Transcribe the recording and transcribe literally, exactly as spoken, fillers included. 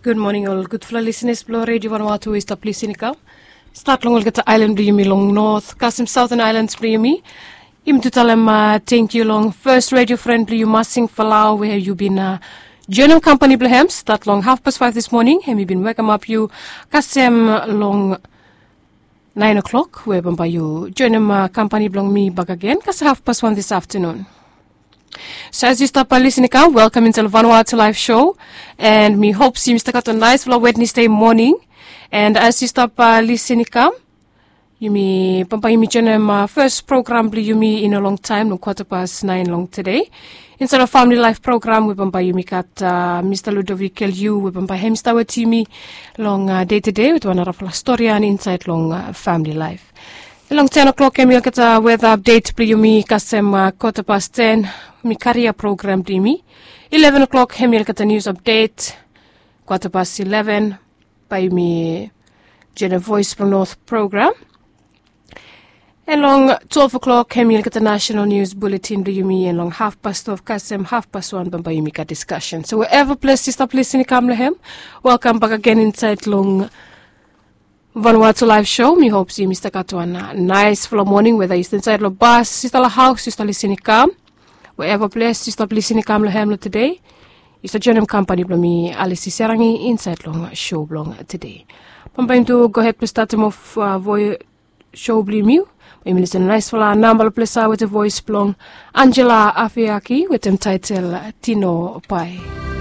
Gud moning ol gudfala lisenas blong redio vanwatu we i stap lisin i kam. Stat long olgeta ailan blong yumi long not kasem sauten ailans blong yumi. Yumi tu talem tengkiu long fes redio fren blong yu masing falau we yu bin joinim kampani blong hem stat long hafpas faif dis moning hem i bin wekemap yu kasem long naen o'klok we bambae yu joinim kampani blong mi bakagen kasem hafpas wan dis aftanun. So as yu stap lisin i kam welkam insait long vanwatu laif sho. And mi hop se yumi stap gat wan naispela wednesde moning. And as yu stap lisin i kam yumi bambae yumi joinim fes program blong yumi i no longtaem long kwata pas naen long tede. Insait long famili laif program we bambae yumi gat mista ludovikel yu we bambae hem i stap wetem yumi long dei tede wetem wan narafala storian insait long famili laif. Long ten o'klok hem i olgeta weta apdet blong yumi kasem kwata pas ten. Mi karia program blong yumi. Ileven o'klok hem i olgeta nius apdet. Kwata pas ileven bae yumi joinim voes blong not program. And long twelve o'klok hem i olgeta nasenal nius buletin blong yumi and long hafpas twelve kasem hafpas wan bambae yumi gat diskasen so we eva ples yu stap lisin i kam long hem. Welkam bakagen insait long vanwatu laif sho mi hop se yumi stap gat wan naisfala moning weta yu stap insait long bas yu stap long haos yu stap lisin i kam. We eva ples yu stap lisin i kam long hem long tede yu stap joinim kampani blong mi alisi serangi insait long sho blong tede. Bambae yumi tu gohed blong statim of voi sho blong yumi. Bae yumi lisin long naisfala namba long plesa wetem voes blong angela afiaki wetem taetel tino pae.